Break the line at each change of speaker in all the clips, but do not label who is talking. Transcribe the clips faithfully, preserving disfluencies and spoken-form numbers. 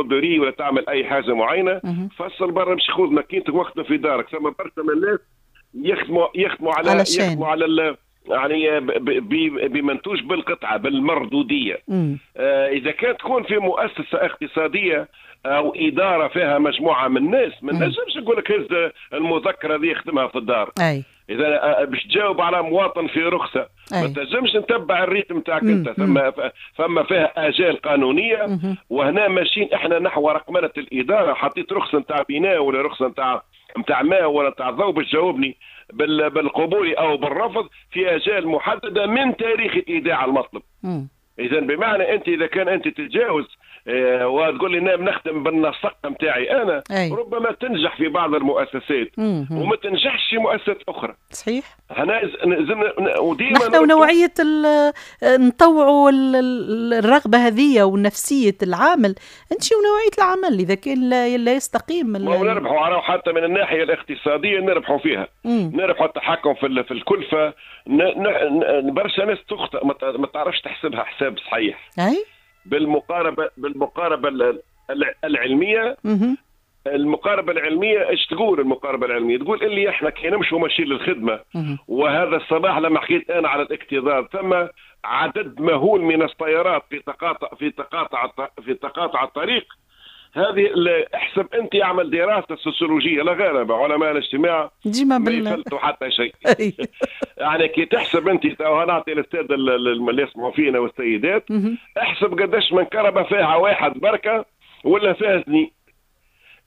broderie ولا تعمل اي حاجة معينه، فصل برا، مش خذ ماكينتك واخدم في دارك. ثم برشا من الناس يخدموا يخدموا على
على chaîne.
يخدموا على ال يعني بمنتوج بالقطعه، بالمردوديه. آه اذا كانت تكون في مؤسسة اقتصادية او ادارة فيها مجموعة من الناس، ما نجمش نقول لك هز المذكرة دي يخدمها في الدار.
اي
اذا آه، باش تجاوب على مواطن في رخصه، ما تنجمش نتبع ال rythme تاعك انت. ثم ثم فيها اجال قانونيه، وهنا ماشيين احنا نحو رقمنه الاداره. حطيت رخصه نتاع بناء ولا رخصه نتاع نتاع ماء ولا نتاع ضوء، باش تجاوبني بالقبول او بالرفض في اجال محددة من تاريخ ايداع المطلب. اذا بمعنى انت اذا كان انت تتجاوز آه، وتقول لي نعم نخدم بالنسق نتاعي انا، أي. ربما تنجح في بعض المؤسسات وما تنجحش في مؤسسات اخرى.
صحيح.
هنا لازم
وديما نحن ونوعية نطوعوا الرغبة هذه ونفسية العامل، انت ونوعية العمل اذا كان لا, لا يستقيم.
ما نربحوا حتى من الناحية الاقتصاديه، نربحوا فيها. مم. نربحوا التحكم في في الكلفه. برشا ناس تخطئ، ما تعرفش تحسبها حساب صحيح.
اي
بالمقاربه بالمقاربه العلميه. المقاربة العلمية ايش تقول؟ المقاربة العلمية تقول اللي احنا كي نمشوا ماشيين للخدمه، وهذا الصباح لما حكيت انا على الاكتظاظ، ثم عدد مهول من السيارات في تقاطع في تقاطع في تقاطع الطريق. هذه احسب انت، اعمل دراسة سوسيولوجيه، لا غير علماء الاجتماع
ديما
ما يفلتوا حتى شيء. يعني كي تحسب انت، نعطي للسادة اللي يسمعوا فينا والسيدات، احسب قداش من كرهبه فيها واحد بركة ولا فيها اثنين.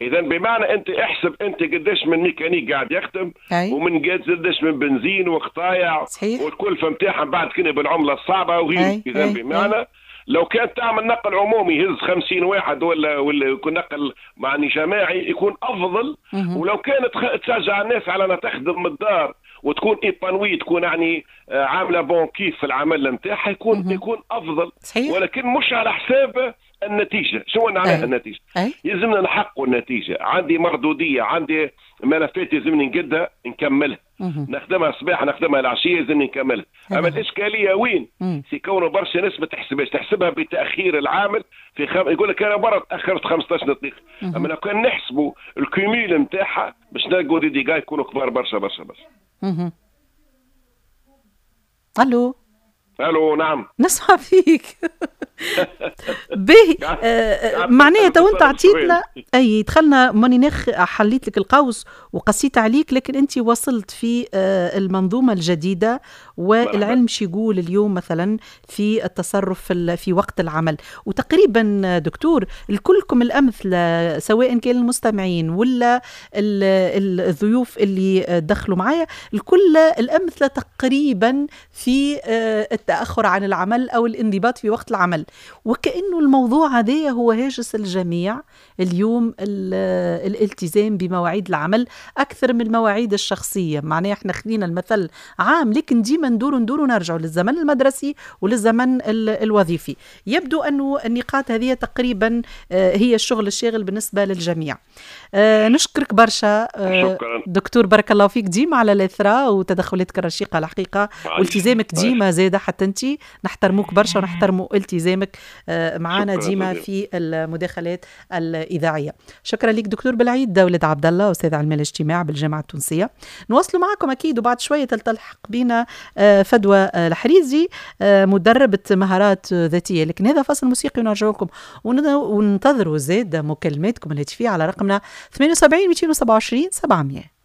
اذا بمعنى انت احسب انت قداش من ميكانيك قاعد يخدم ومن قداش من بنزين وقطايع والكلفه نتاعها بعد كنا بالعملة الصعبة وغيره. اذا بمعنى لو كانت تعمل نقل عمومي يهز خمسين واحد ولا ولا يكون نقل معني جماعي يكون افضل. ولو كانت تشجع الناس على انها تخدم من الدار وتكون épanouie، تكون يعني آه، عامله bon كيف في العمل نتاعها، يكون يكون افضل.
صحيح.
ولكن مش على حساب النتيجه. شو معناها النتيجه؟
أي.
يلزمنا نحققوا النتيجه. عندي مردوديه، عندي ملفات يلزمني نقدها نكملها، نخدمها الصباح نخدمها العشيه، يلزمني نكملها. اما الاشكالية وين؟ في كونه برشا ناس ما تحسبهاش، تحسبها بتاخير العامل في خم... يقول لك انا برا تاخرت خمسطاش دقيقه. اما لو كان نحسبوا ال cumul نتاعها باش نلقوا des dégâts يكونوا كبار برشا برشا برشا.
الو.
الو، نعم.
نسمع فيك. باهي، آه، معناها تو انت عطيتنا، اي دخلنا، ماني نخ حليت لك القوس وقصيت عليك، لكن انت وصلت في آه، المنظومة الجديدة والعلم شو يقول اليوم مثلا في التصرف في وقت العمل. وتقريبا دكتور الكلكم الامثلة، سواء كان المستمعين ولا الضيوف اللي دخلوا معايا، الكل الامثلة تقريبا في آه، التاخر عن العمل او الانضباط في وقت العمل، وكأنه الموضوع هذا هو هاجس الجميع اليوم، الالتزام بمواعيد العمل أكثر من المواعيد الشخصية. معناها احنا خلينا المثل عام، لكن ديما ندور ندور ونرجع للزمن المدرسي وللزمن الوظيفي. يبدو أنه النقاط هذه تقريبا آه، هي الشغل الشاغل بالنسبة للجميع. آه، نشكرك برشا آه،
شكرا.
دكتور، بارك الله فيك ديما على الإثراء وتدخلاتك الرشيقة الحقيقة والتزامك ديما زادة، حتى أنت نحترموك برشا ونحترموا التزامك معنا ديما في المداخلات الإذاعية. شكرا لك دكتور بالعيد ولد عبد الله، أستاذ علم الاجتماع بالجامعة التونسية. نواصلوا معكم أكيد، وبعد شوية تلتحق بنا آه، فدوى الحريزي، آه، مدربة مهارات ذاتية، لكن هذا فاصل موسيقي ونرجع لكم، وننتظروا زاد مكالماتكم الهاتفية على رقمنا ثمانية وسبعين مئتين وسبعة وعشرين سبعمية.